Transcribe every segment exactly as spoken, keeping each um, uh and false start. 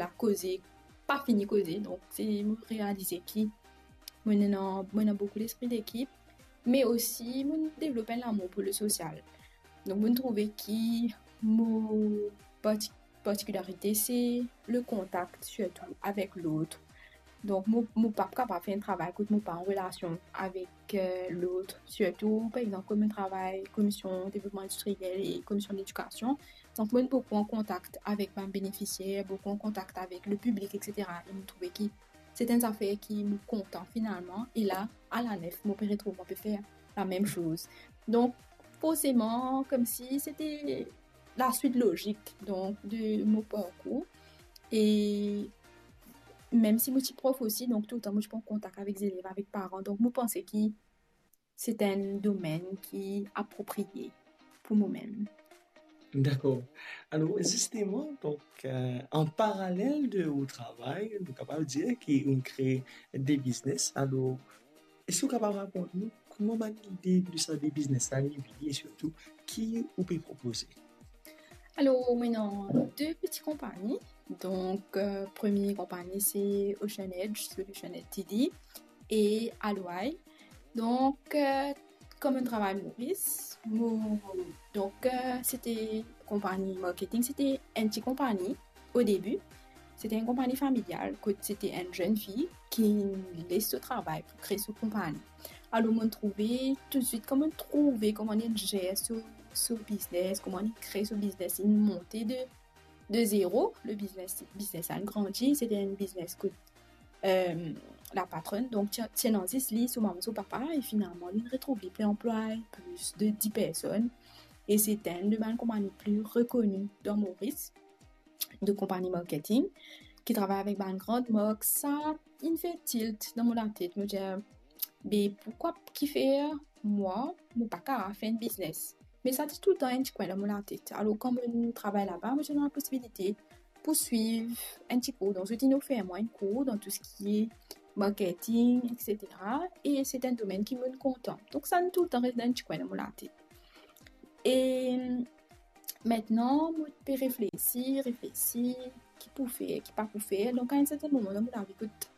la koze, pa fini koze. Donk, se mo realize ki mo ena, mo ena boukou lespri dekip, me osi mo devlop enn lamour pou le sosial. Donk, mo trouve ki mo parti-, partikilarite, se le kontak, sirtou avek lot. Donk, mo, mo pa kapav fer enn travay kot mo pa an relasion avek, euh, lot, sirtou, par exanp, kot mo travay komision devlopman indistriel e komision ledikasion. Donk, mo boukou an kontak avek bann benefisier, boukou an kontak avek le piblik, et cetera. E mo trouve ki se enn zafer ki mo kontan finalman. E la, alanef, mo pe retrouv, mo pe fer lamem soz. Donk, forseman, koumsi se te laswit lozik, donk, de mo parkour. E mem si mo ti prof osi, donk, toultan mo ti an kontak avek zelev, avek paran. Donk, mo panse ki se enn domenn ki apropriye pou momem. Dakor. Alor, zisteman, donk, euh, an paralel de ou travay, nou kapav dir ki ou kre de biznes. Alor, eski ou kapav rakont nou kouma bann lide de sa de biznes la inn vini e sirtou ki ou pe propoze? Alor, mo ena de peti konpagni. Donk, euh, premie konpagni, se Ocean Edge Solution L T D e Alway. Donk, euh, kouma mo travay Moris, mo, donk, euh, se te konpagni marketing, se te enn ti konpagni o debi. Se te enn konpagni familial, kot se te enn zenn fi ki les so travay pou kre so konpagni. Alor, mo trouve toutswit, kouma mo trouve kouma inn zer so, so biznes, kouma inn kre so biznes, inn monte de, de zero, le biznes, biznes la inn grandi, se te enn biznes kot, euh, lapatronn, donk, ti, ti ena zis li, so mama, so papa, e finalman, li retrouv li pli anplwaye, plis de dis personn, e se enn de bann konpagni pli rekoni dan Moris, de konpagni marketing, ki travay avek bann gran mark. Sa inn fer tilt dan mo latet, mo dir, be, poukwa kifer mwa, mo pa kapav fer enn biznes? Me sa ti toultan enn ti kwin dan mo latet. Alor, kan mo travay laba, mo ti ena posibilite pou swiv enn ti kour. Donk, zot inn ofer mwa enn kour dan tou seki marketing, et cetera. E se enn domenn ki mo kontan. Donk, sa inn toultan res dan enn ti kwin dan mo latet. E mintnan, mo pe reflesi, reflesi, ki pou fer, ki pa pou fer. Donk, a enn serten moman dan mo lavi, kot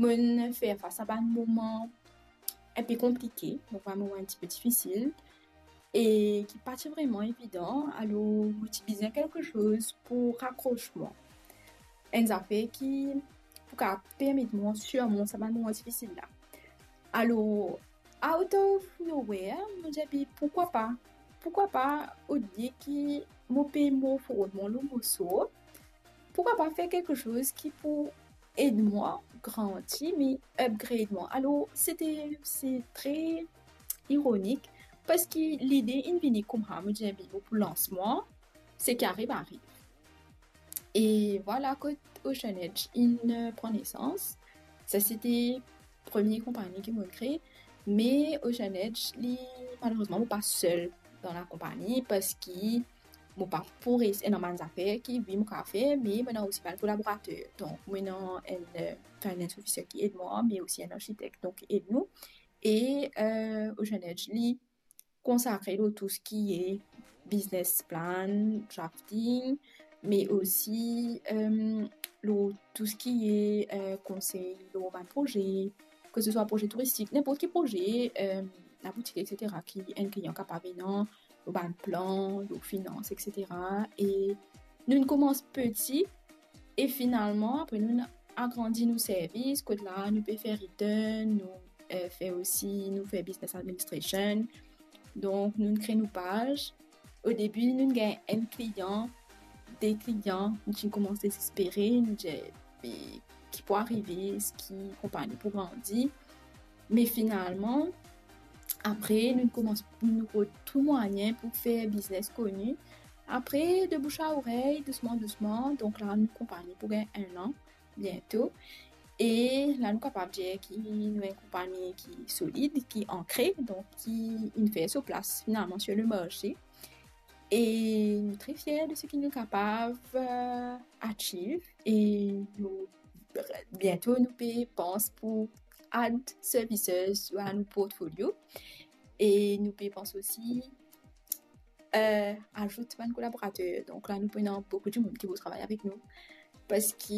mo fer fas a bann moman enpe konplike, donk bann moman enn tipe difisil, e ki pa ti vreman evidan, alor mo ti bizin kiksoz pou rakros mwa. Enn zafer ki pou kapav permet mwa sirmont sa bann moman difisil la. Alor, out of nowhere, mo dir, be, poukwa pa? Poukwa pa, olie ki mo pe mor fort mwa lor mo sor, poukwa pa fer kiksoz ki pou ed mwa grandi, me upgrade mwa? Alor, se te, se tre ironik, parski lide inn vini koumsa, mo dir, be, mo pou lans mwa, seki ariv, ariv. E vwala kot Ocean Edge inn, euh, pran nesans. Sa se te premie konpagni ki mo kre, me Ocean Edge, li, malerezman, mo pa sel dan lakonpagni, parski mo pa pou res, ena bann zafer ki, wi, mo kapav fer, me mo ena osi bann kolaborater. Donk, mo ena enn, euh, finance officer ki ed mwa, me osi enn arkitek, donk, ki ed nou. E, euh, Ocean Edge, li konsakre lor tou seki business plan, drafting, me osi, euh, lor tou seki, euh, konsey lor bann proze, ke se swa proze touristik, ninport ki proze, euh, laboutik, et cetera, ki enn klian kapav ena, lor bann plan, lor finans, et cetera. E nou koumans peti, e finalman, apre nou agrandi nou servis, kot la nou pe fer return, nou, euh, fer osi, nou fer business administration. Donk, nou kre nou paz. O debi, nou gagn enn klian, de klian, nou ti koumans dezespere, nou dir, "Me ki pou arive, eski konpagni pou grandi?" Me finalman, apre, nou koumans, nou rod tou mwayin pou fer biznes koni. Apre, de bouche a orey, dousman, dousman, donk la, nou konpagni pou gagn enn an, biento. E la, nou kapav dir ki nou enn konpagni ki solid, ki ankre, donk ki inn fer so plas, finalman, sur le marse. E nou tre fier de seki nou kapav, euh, achieve. E nou, biento, nou pe pans pou add services a nou portfolio. E nou pe pans osi, euh, azout bann kolaborater. Donk la, nou pou ena boukou dimoun ki pou travay avek nou. Parski